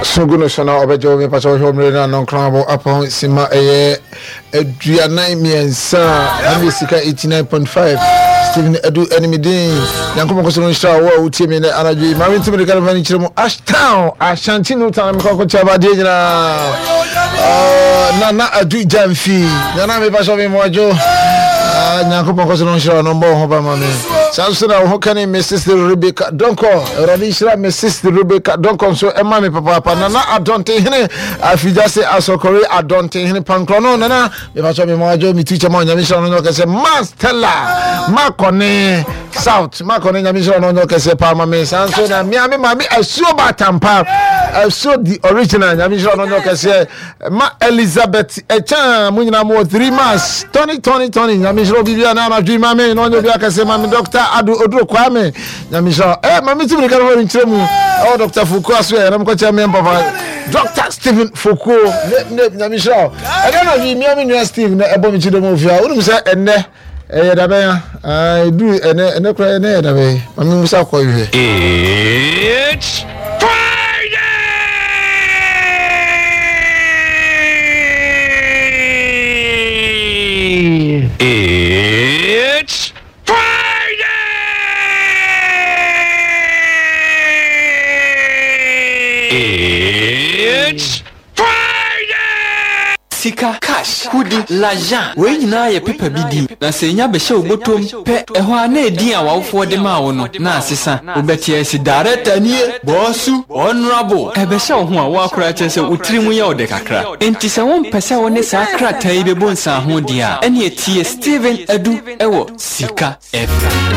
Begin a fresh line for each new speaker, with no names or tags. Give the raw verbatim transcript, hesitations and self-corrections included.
So gu no so na ɔbɛgye wo. Mepa sɛ wɔhwɛ mmerɛ no anɔnkron abɔ apɔn sima ɛyɛ aduanan mmiɛnsa a ɛne Sika eighty-nine point five. Stephen Adu ɛne me din. Nyankopɔn kɔsɛ no nhyira wo a wotie me nɛ anadwo yi. Maame ntimi de ka no fa no kyerɛ mu Ashtown, Ashanti no town, mekɔkɔkyɛ abadeɛ nyinaa. Nana Adu Gyamfi, nana, mepa sɛ me mmoadwo. Nyankopɔn kɔsɛ no nhyira wo no mbɔ wo ho ba ma me. Saa nso na wo ho kane me sister Rebecca Donkɔ. Awurade nhyira me sister Rebecca Donkɔ nso ɛma me papaapa. Nana Adɔntenhene Afigya se Asɔkɔre Adɔntenhene Pankorɔ no, nana, mepakyɛ me mmoadwo, metu kyɛ ma Onyame nhyira no nyɛ ɔkɛsɛ. Ma Stella Makɔne South Makɔne, Nyame nhyira no nyɛ ɔkɛsɛ paa ma me. Saa nso na mea me maame Asuo Batampa Asuo, the original, Nyame nhyira no nyɛ ɔkɛseɛ. Ma Elizabeth Ɛkyɛn mo nyinaa mo wɔ three months, Tony, Tony, Tony, Nyame nhyira obi bia na anadwo yi ma me na ɔnyɛ obi akɛseɛ ma me. Doctor Ado Oduro Kwame, Nyame nhyira. Ɛ ma me tumi ka no nkyerɛ mu ɛwɔ Doctor Fukuo aso yɛ ɛnam kɔkyɛ me papa Doctor Stephen Fukuo ne ne Nyame nhyira wo. Ɛnɛ anadwo yi mea me nua Steve na ɛbɔ me kyi dɛm ofie a wonim sɛ ɛnɛ ɛyɛ dabɛn a ɛduru ɛnɛ ɛnɛ koraa, ɛnɛ yɛ dabɛn. Ma me musa kɔ hwɛ.
It's Friday! It's Friday! It's Friday!
Sika, cash, kudi, l'argent, wei nyinaa yɛ pepa bi din, na sɛ enya bɛhyɛ wo bɔtɔm pɛ, ɛhɔ a na edin a w'awofoɔ de maa wo no na asesa. Wobɛte asi director nie, boss, honorable. Ɛbɛhyɛ wo ho a woakora kyerɛ sɛ wo tiri mu yɛ wo dɛ kakra. Enti sɛ wompɛ sɛ wo ne saa krataa yi bɛbɔ nsaho deɛ a, ɛne tie Stephen Adu ɛwɔ Sika F M.